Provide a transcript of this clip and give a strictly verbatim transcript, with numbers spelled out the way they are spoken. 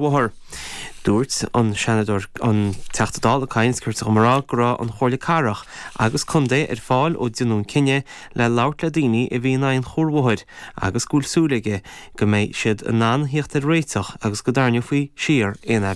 Bhóthar. Dúirt an Seanadóir an Teachta Dála Kynes go raibh go raibh an Chomhairle Cathrach agus Contae ar fáil ó déanadh an cinneadh le labhairt le daoine a bhí in aghaidh an chuarbhóthair agus go bhfuil súil aige go mbeidh siad in ann theacht ar réiteach agus go dtarraingeofaí siar aon